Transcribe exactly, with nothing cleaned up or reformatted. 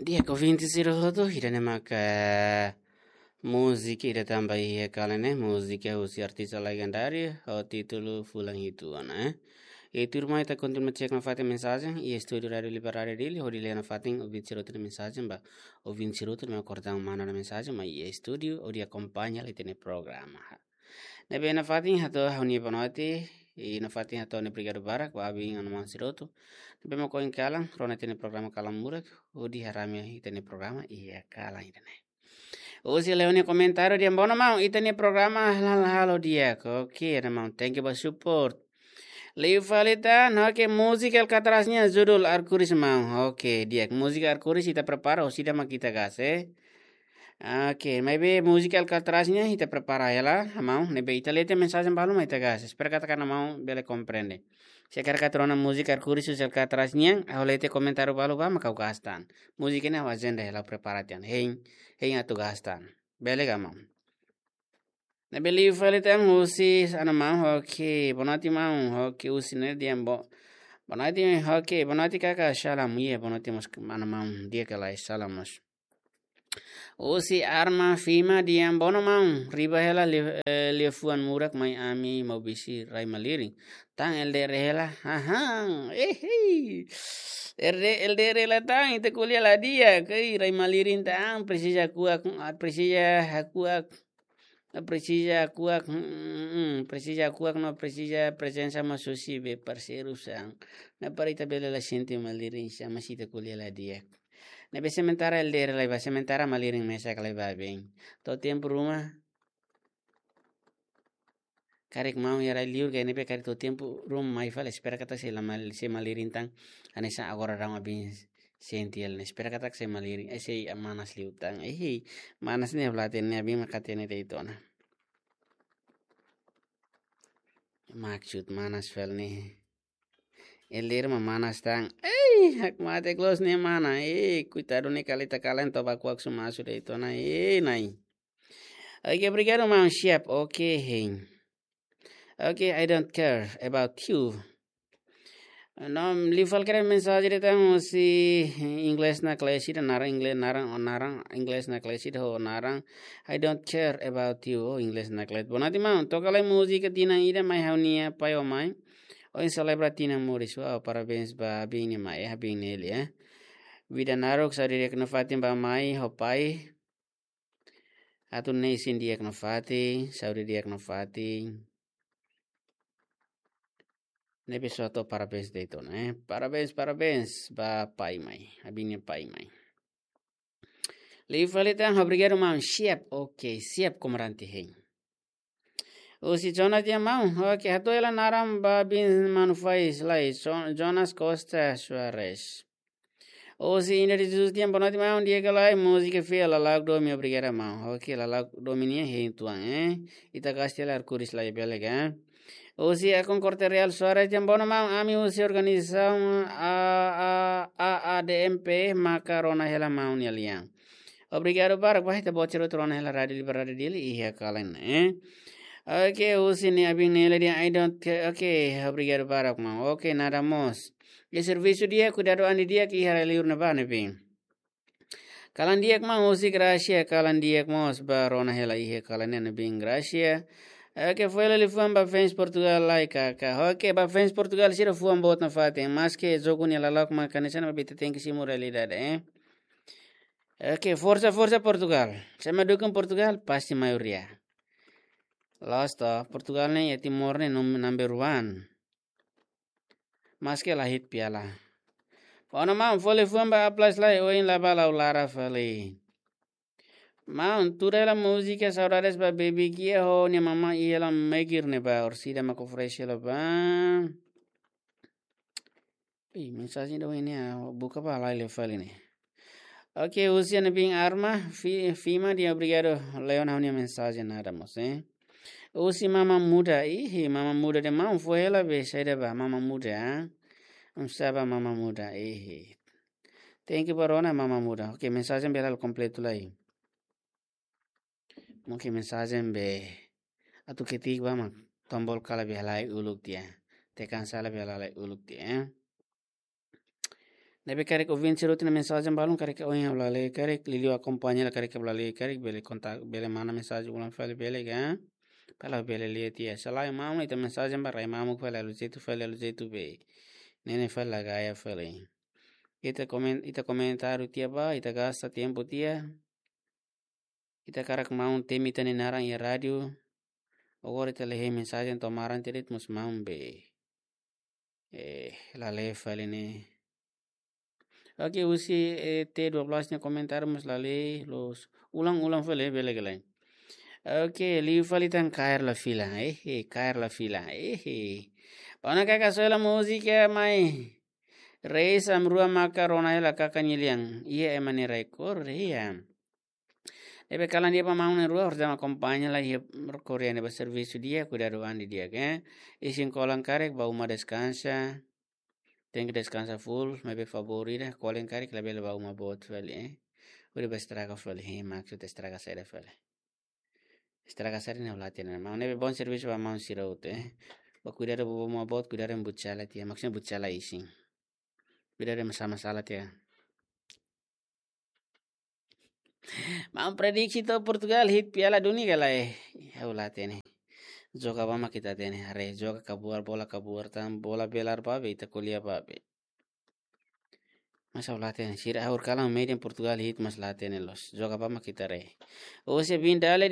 Di'ak ouvinte sira hotu, ida-ne'e maka múzika ida tan ba iha kalan ne'e, múzika husi artista legendáriu ho títulu Fulan Hitu Ona, eh. I tuirmai ita kontinua cek nafatin mensajen iha estúdiu Rádiu Liberdade Dili, hodi lee nafatin ouvinte sira hotu nia mensajen ba, ouvinte sira hotu nia kordang manda ona mensajen mai iha estúdiu hodi akompaña ita-nia programa. Ne'ebé nafatin hato'o ha'u-nia boa noite, i nafatin hato'o ha'u-nia obrigadu barak ba abin no maun sira hotu ne'ebé mak ohin kalan rona ita-nia programa Kalan Murak hodi harame ita-nia programa iha kalan ida-ne'e. Husi Leone komentáriu dehan: "Bono maun, ita-nia programa halal-halal di'ak." Oke, ida maun, thank you ba support. Liu fali tan, oke, múzika Alcatraz nian judul Arkuris maun. Oke, di'ak, múzika Arkuris ita prepara, orsida mak ita gás, eh. Oke, maibé múzika Alcatraz nian ita prepara hela, maun, ne'ebé ita lee tiha mensajen balu mak ita gás. Espera katak maun bele komprende. Se karik atu rona múzika Arkuris husi Alcatraz nian, ha'u lee tiha komentáriu balu ba mak ha'u gás tan. Múzika ne'e ha'u ajenda hela, prepara tiha ona. Hein, hein atu gás tan. Bele ka maun? Ne'ebé liu fali tan husi Ana Maun, oke, boa noite maun, oke, husi ne'e dehan bo-, boa noite, oke, boa noite kaka, salam, iha, boa noite mós Ana Maun, di'ak ka lae, salam mós. Husi Arma Fima dehan: "Bono maun, riba hela li-, eh, liafuan murak mai ami Maubisse rai malirin. Tan L D R hela, hahan, ehei. L D R, L D R hela tan, ita ko'alia la di'ak, ei, rai malirin tan, presiza hakuak, ah, presiza hakuak, ah, presiza hakuak, hmm, hmm, hmm, presiza hakuak no presiza prezensa mós husi be parseiru sira. Ne'e para ita bele la sente malirin, sama si ita ko'alia la di'ak." Ne'ebé sementara L D R lai ba, sementara malirin mesak lai ba bem. To'o tempu ruma, karik maun iha rai liur ka ne'ebé karik to'o tempu ruma mai fali, espera katak sei la mal-, sei malirin tan, hanesan agora daudaun abin sente hela ne'e. Espera katak sei malirin, eh, sei manas liu tan. Eh, manas ne'e bla tene abin mak hatene de'it ona. Maksud manas fali ne'e. L D R mak manas tan. Ei, hakmatek loos ne'e mana. Ei, koitadu ne'e kali ita kalan toba kuak suma sudah itu na. Ei, nai. Oke, obrigadu maun, siap. Oke, hein. Oke, I don't care about you. No, liu fali karik mensajen ida tan husi inglés naklees ida, naran inglés, naran, naran inglés naklees ida ho naran I don't care about you, oh, inglés naklees. Boa noite maun, toka lai múzika tinan ida mai ha'u-nia pai ho mai. Ohin selebra tinan moris, wow, parabéns ba abin nia mai, eh, abin Nelly, eh. Vida naruk, saúde di'ak nafatin ba mai ho pai. Atu nune'e isin di'ak nafatin, saúde di'ak nafatin. Ne'ebé só hato'o parabéns de'it ona, eh. Parabéns, parabéns ba pai mai, abin nia pai mai. Liu fali tan, obrigadu maun, siap, oke, siap komandante hein. Husi Jonas dehan maun, oke, hato'o hela naran ba abin manu fais lai, Jo-, Jonas Costa Soares. Husi Ina de Jesus dehan boa noite maun, di'ak ka lae, múzika fiel, Lala'ok Domin, obrigadu maun. Oke, Lala'ok Domin nian hein tuan, eh. Ita gás tiha lai Arkuris lai bele ka. Husi Akon Korte Real Soares dehan bono maun, ami husi organizasaun A A, A A D M P maka rona hela maun nia lian. Obrigadu barak ba ita-boot sira hotu rona hela Rádiu Liberdade Dili iha kalan ne'e, eh. Oke, husi ne'e abin Nelly dehan I don't care. Oke, obrigadu barak maun. Oke, nada mós. Iha servisu di'ak, kuidadu an didi'ak iha rai liur ne'ebá ne'ebé. Kalan di'ak maun, husi Gracia, kalan di'ak mós ba rona hela iha kalan ne'e ne'ebé Gracia. Oke, foin hela liafuan ba fans Portugal lai kaka. Oke, ba fans Portugal sira fuan boot nafatin, maske jogu ne'e lala'ok mak hanesan ne'e, maibé ita tenke simu realidade, eh. Oke, forsa, forsa Portugal. Se ema dukung Portugal, pasti maioria. Loos to, Portugal ne'e iha Timor ne'e num-, number one. Maske la hetan piala. Bono maun, foin hela liafuan ba A plus lai, ohin la bá, la'o laran fali. Maun, tuda hela múzika Saudades ba Baby Gia ho nia mama iha la Megir ne'ebá, orsida mak oferese hela ba. Ih, mensajen ida ohin ne'e, ah, buka ba lai lee fali ne'e. Oke, husi ne'ebé Arma, Fi-, Fima dehan obrigadu, Leon, ha'u-nia mensajen nada mós, eh. Husi Mama Muda, ih, Mama Muda dehan maun, foin hela be, saida ba, Mama Muda, ah. Oinsá ba Mama Muda, ih. Thank you ba rona Mama Muda. Oke, mensajen bele la kompletu lai. Mungkin mensajen be atu ketik ba mak tombol kala be halai uluk tiha. Tekan sala be halai uluk tiha, eh. Ne'ebé karik ouvinte sira-nia mensajen balun karik ohin ha'u la lee, karik liuliu akompaña la karik ha'u la lee, karik bele kontak, bele manda mensajen ulang fali bele ka? Para bele lee tiha. Se lae maun ita mensajen ba rai mamuk fali halo jeitu fali halo jeitu be. Ne'e ne'e fali la gaya fali. Ita komen-, ita komentáriu tiha ba, ita gasta tempu tiha. Ita hakarak maun temi ita-nia naran iha rádiu. Agora ita lee mensajen to'o maran tiha de'it mós maun be. Eh, la lee fali ne'e. Oke, husi, eh, T dua belas nia komentáriu mós la lee, loos. Ulang, ulang fali, bele ka lae. Oke, liu fali tan kaer la fila. Eh, eh, kaer la fila. Eh, eh. Bá ona kaka soe la múzika mai. Reis am rua maka rona hela kaka nia lian. Iha ema nia rekor, iha. Ne'ebé kalan di'ak ba maun na'in-rua, horiseik akompaña la iha Korea ne'ebá servisu di'ak, kuidadu an didi'ak, eh. Isin kolan karik, bá uma deskansa. Tenke deskansa full, maibé favór ida, kolan karik labele bá uma boot fali, eh. Hodi bá estraga fali, eh, maksud estraga saida fali. Estraga saida ne'e ha'u la hatene. Maun ne'ebé bom servisu ba maun sira hotu, eh. Bá kuidadu bá uma boot, kuidadu buchala tiha, maksudnya buchala isin. Kuidadu masalah-masalah tiha. Maun prediksi to'o Portugal hi'it Piala Dunia ka lae. Ha'u la hatene. Joga ba mak ita hatene. Haree joga kabuar, bola kabuar tan, bola belar ba be, ita ko'alia ba be. Mas ha'u la hatene. Sira ha'u kalan medan Portugal hi'it mas la hatene loos. Joga ba mak ita haree. Ose bin dale